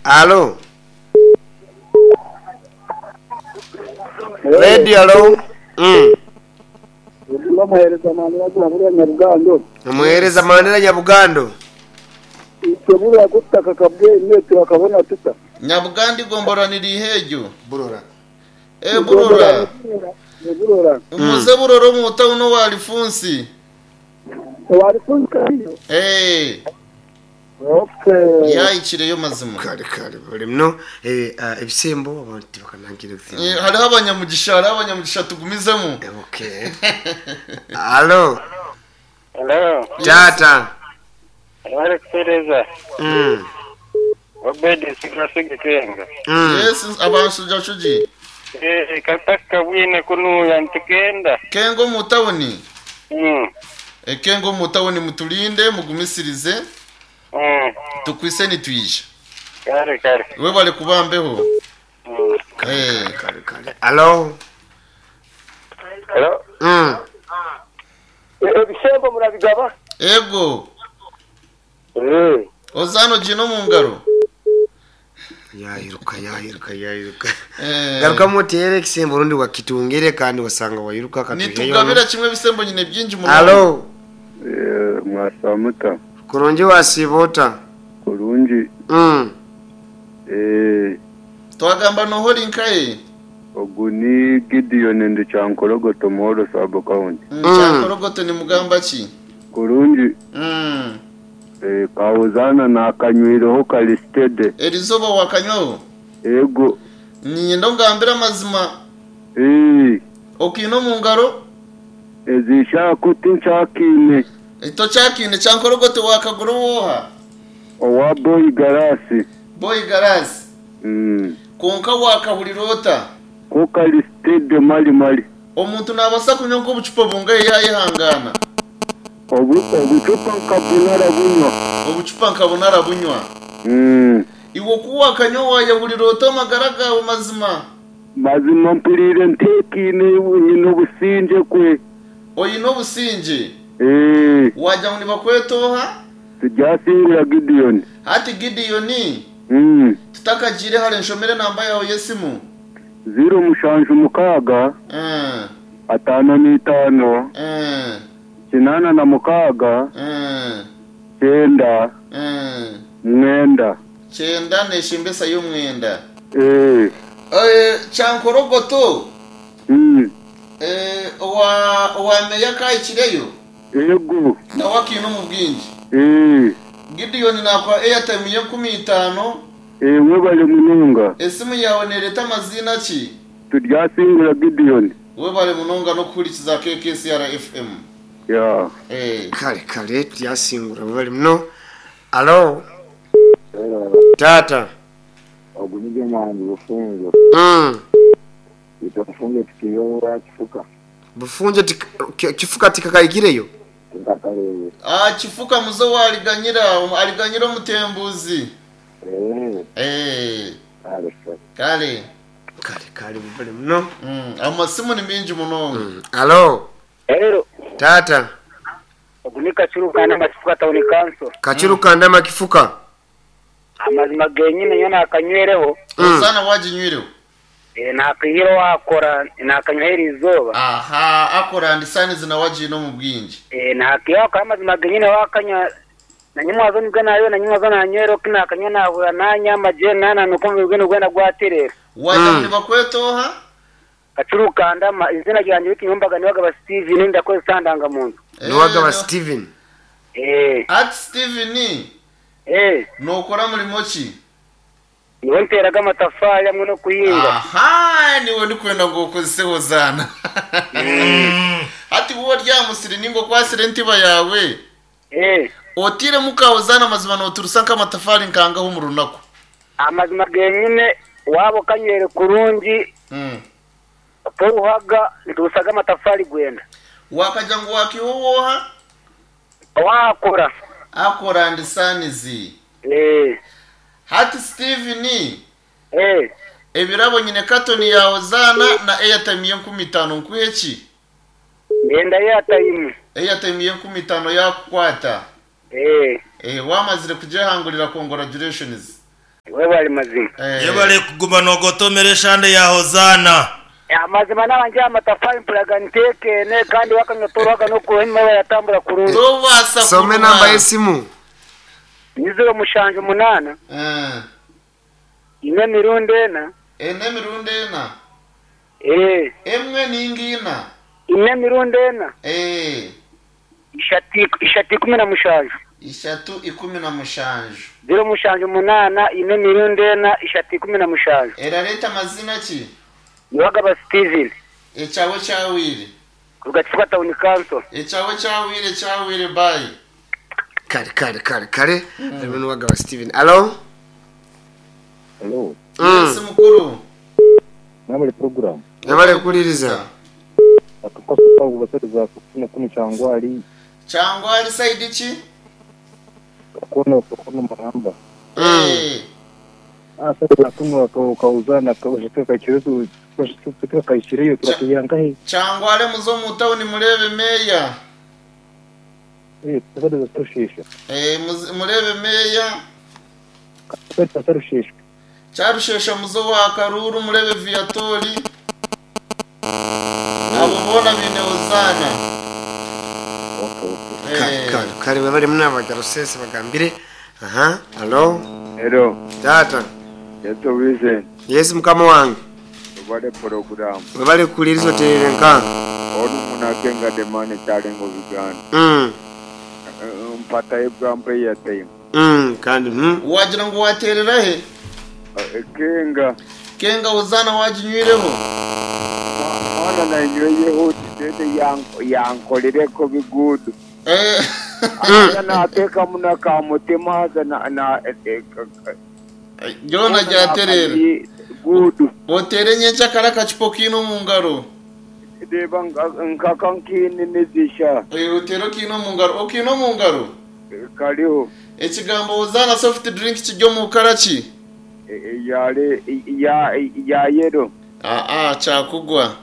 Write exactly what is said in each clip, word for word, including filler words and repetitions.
Alo. Radio alo. Mm. Bamuhereza Mandela Burya Nyabugando. Omuhereza Mandela Nyabugando. Tebura kutaka kabwe turakabona tuta. Nyabugando igomboranira ihegyo. Burora. Eh burora. Burora. Umuze burora mu tawuno wa Alphonse. Wa Alphonse kariyo. Eh. Okay. Yayikireyo mazima. Kare kare bari mno eh ebisembo abantu bakanangira Eh hariho abanyamugisha hariho abanyamugisha tugumizemo. Okay. Alo. Hello. Tata. Wale kutereza. Mm. Obedi sigrasige kenga. Mm. Yes abanshuja shuji. Eh kataka bwine kunuya ntikenda. Kengo mu tawuni. Mm. E kengo mu tawuni mutulinde mugumisirize. Mm. Tukwise nitwije. Kare kare. We bale kubambeho. Mm. Eh Kare kare. Alo. Hello. Mm. Ebisembo murabigaba? Ego. Eh. Ozano jino mu ngaro. Yayiruka yayiruka yayiruka. Eh. Garuka mutere ekisembo rundi wakitungire kandi wasanga wayiruka katuheyo. Nitugabira kimwe bisembo nyine byinji mu. Alo. Eh, mwasamuta Kurungi wasibota. kurungi Mm. eh Twagamba nohori nkaye. ogu ni Gideon ndi Kyankorogoto Muhoro sub county. Mm. Kyankorogoto ni mugamba ki? Kurungi Mm. eh kawuzana nakanywireho kalistede. Erizoba wakanywaho. Ego Ninyenda ngambira amazima. eh Okino mu ngaro ezishaka tinchakine ito chakine Kyankorogoto wakaguru woha. owa boy garasi. Boy garasi. Mm. Konka wakahulirota. Ko kalistede mali mali. Omuntu nabasa kunywa obucupa bungaye yayihangana. Obu obucupa nkabunara bunywa. Obucupa nkabunara bunywa. Mm. Iwo kuwa kanywa wayahulirota amagara gawe mazima. Mazima mpulire ntekine nyine obusinge kwe. Oyine obusinge. Eh. Wajja ngo nibakwetoha? Tujasingura Gideon. Hati Gideon. Mm. Tutakagire hale nshomere namba yawe yesimu. Zero mushanju mukaga. Mm. Atano n'itano. Mm. Kinana na mukaga. Mm. Cyenda. Mm. Mwenda. Cyenda neshimbesa y'umwenda. Eh. Eh Kyankorogoto. Mm. Eh wa wa meya kayikireyo. Ego. Na wakino mu bwinji. Eh. Gideon nakwa airtime ye nkumi itano. Eh webale munonga. Esimu yawe nereta amazina ki? Turyasingura Gideon. Webale munonga no kurikiza K K C R F M. Ya. Eh. Kare kare turyasingura bari mno. Alo. Tata. Ogunige mwangu bufunjo. Mm. Itofunge tukiyowa kifuka. Bufunjo kifuka tikakaikireyo. Tikakalewe. Ah kifuka muzo waliganyira aliganyira omutembuzi. Eh. Eh. Kale. Kale. Kale kale bari mno. Mm amasimu ni mingi munonga. Mm. Alo. Hello. Tata. Ogunika chirukanda makifuka town council. Kachirukanda makifuka. Amazima genyine yo nakanywereho. Mm. Osana wajinywireho. Eh nakihiro wakora nakanywera izoba. Aha akora ndisani zinawajino mu bwinji. Eh nakiyo amazima genyine wakanya na nyimwazo nibwo nayo na nyimwazo nanywero kinakanywa nahura nanyama je nana nuko mbigwe gwenda gwaterera. Waja Mm. nibakwetoha? Kachirukanda ma izina ryanjye w'ikinyumbaga niwaga Steven ndakoze sandanga muntu. Niwagaba Steven. Eh At Steven eh nokora mulimo ki? niwe nteraga amatafari hamwe no kuhinga. Aha niwe ndikwenda ngo ukozeho zana. Ati wowe ryamusiri ningo kwasire ntiba yawe. Eh Otire mukawo zana amazima noturusa nk'amatafari nkangaho mu runaku. amazima genyine wabo kanywere kurungi Mm. poruhaga ntusaga amatafari gwenda. Wakaja ngo wakiwowoha Wakora. akora ndisanizi. Eh Hati Steven eh ebirabo nyine katoni yawe zana na airtime ye nkumi itano nkuhe ki? ngenda yatayimu. Airtime ye nkumi itano yakukwata. Eh Eh wamazire kujehangurira congratulations. Webale mazima. Eh. Yebale kuguma nogotomera eshande ya Hozana. Amazima nabanje amatafari mpuraga ntekene kandi wakanywa toroga no kuhema yatambura kurungi. Tobasa some kuruma. namba y'esimu Ni zero mushanju munana. Eh. Ine mirundi ena. Ene mirundi ena. Eh. Emwe ningina. Ine mirundi ena. Eh. Ishati ishati ikumi na mushanju. Ishatu ikumi na mushanju. Zero mushanju munana ine mirundi ena ishati ikumi na mushanju. Erareta amazina ki? Niwagaba Steven. Ekyawe kyawire. Kuruga Kifuka Town Council. Ekyawe kyawire kyawire bayi. Kare kare kare kare. Harimo n'uwagaba Steven. Alo? Hello. Mm. Yes mukuru. Namwe program. Yabale kuliriza. Akakosa pangu basatu kufuna kunu changwali Changwali side ki? kona kona maramba. Eh. Ah sasa kuno kauzana kawashika kachiretu kawashika kachireyo tukayangahe. Changwale muzo mu town murebe meya. Eh sasa tushisha. Eh murebe meya. Sasa tushisha. Charushesha muzo wa Karuru murebe Viatori. Abo bona bine Hozana. Okay okay. Kare kare kare webale muna Rusese bagambire. Aha, alo? Hello. Tata. Yeto Vincent. Yes mukama wange. Obale program. Webale kuliriza oterere nka. Onu munakenga demane kyalengo Uganda. Mm. Mpata example ya time. Mm, kandi mm. Wagira ngo waterera he? Kenga. Kenga Hozana waginywireho. Mwana na nyweyeho tete yankolereko bigudu. Eh. Aza nateka muna kamutima aza na na Jona ryaterera. Gudu. Otere nyencha kara kachipo kino mu ngaro. Deba nkakankini nizisha. Eh otero kino mu ngaro, okino mu ngaro. Kariho. Ekigambo Hozana soft drink kijyo mu karaki. Yale ya ya yero. Ah ah chakugwa.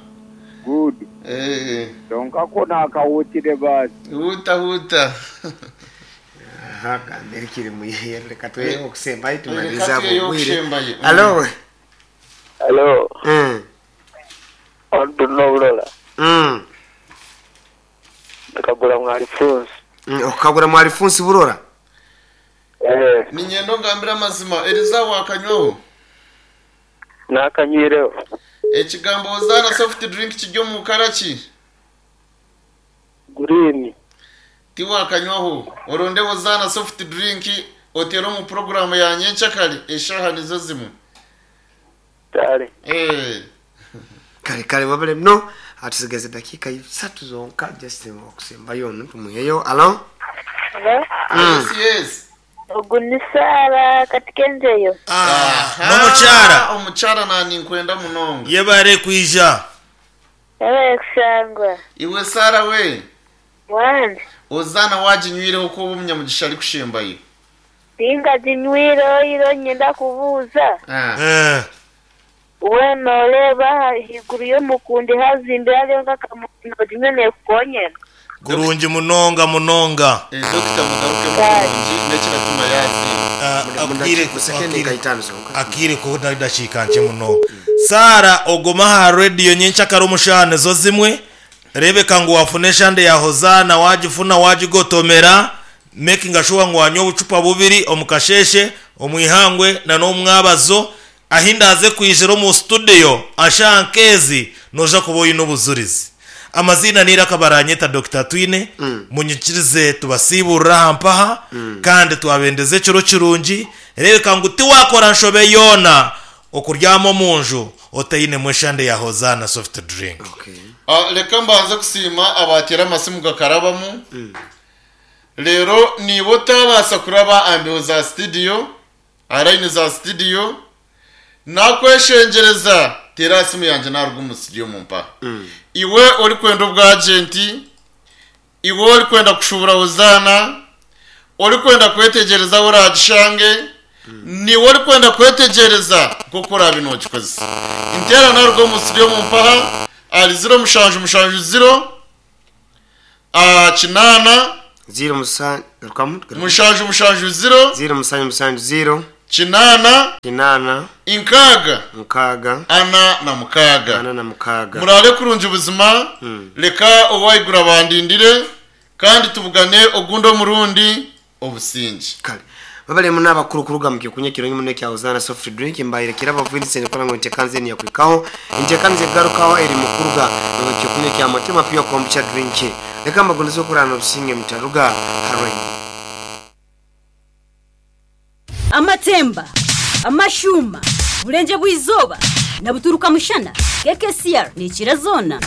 Good. Eh. Donka kona akawutire basi. Huta huta. Aha, gambire kiri muyihe reka tuye okusembayo Reka tumaliza tuyeyo bugwire. okusembayo. Alo? Hello. Mm. Ondunobulola. Mm. Nakagura mwalifunsi. Mm, okagura mwalifunsi burora. Eh. Ninyendo ngambira amazima Eliza wakanywaho. Nakanywireho. Ekigambo Hozana soft drink kijyo mu karaki. Green. Tiwakanywaho. Oronde Hozana soft drink otero mu program ya nyenchakali eshaha nizo zimwe. Tare. Eh. Kare kare wabale no atusigaze dakika isatu zonka just okusembayo tumuheyo. Alo? Hello? Mm. Yes yes. Ogu ni Sara katika enjeyo. Ah, n'omukyara. Omukyara nani nkwenda munonga. Yebale kwija. Yabaye kushangwa. Iwe Sara we. Wanje. Hozana waginywireho ko umunyamugisha ari kushembayo. Tinga zinywire iro nyenda kubuuza. Ah. Eh. We noreeba higuru y'omukundi hazimbire hariyo nk'akamuno rimwe nekukonyera. Kurungi munonga munonga. Eh Doctor mugaruke mukurungi nekiratuma yazi. Ah, akire Sekendi nka itano zonka. akire ko ndashika nche munonga. Sara ogoma ha radio nyenchakara omushane zo zimwe rebeka ngo wafune shande ya Hozana wagifuna wagigotomera making sure ngo wanywa obucupa bubiri omukasheshe omwihangwe na n'omwabazo ahindaze kwijira mu studio ashankezi noja kuboyi n'obuzurizi. Amazina nira kabaranyeta Doctor Twine mm. Munyikirize tubasiburra hampaha mm. Kandi twabendeze ekiro kirungi rebeka ngo tiwakora nshobe yona okuryamo munju otayine mweshande ya Hozana soft drink. Okay. Ah, reka mbanze kusima abatera amasimu gakarabamu. Rero niba utabasa kuraba ambeho za studio arayini za studio nakweshengereza tera simu yanjye narwo mu studio mumpa. Iwe uri kwenda ubwa agenti, iwe uri kwenda kushubura Hozana, uri kwenda kwetegereza uragishange, niwe uri kwenda kwetegereza kuko urabinogikoze. Intera narwo mu studio mumpaha ari zero mushanju mushanju zero a kinana Zero musanju rukamu. mushanju mushanju zero Zero musanju musanju zero. Kinaana, Kinaana, inkaaga, nkaaga, ana na mukaaga. Ana na mukaaga. Murare kurungi buzima. Mm. Leka owaigura bandindire kandi tubugane ogundi omurundi obusingi. Kale babalemu n'abakuru kuruga mu kyokunywa kirungi muno ekya Hozana soft drink, mbaire kirabo Vincent kola ngo ntekanze ni yakwikaho ntekanze garukaho eri mukuruga mu kyokunywa kya Mutima Pure Kombucha drink. Leka mbagoneze okurana obusinge mutaruga harwe. Amatemba, amashuma, burenje bw'izoba na buturuka mushana, K K C R ni zona.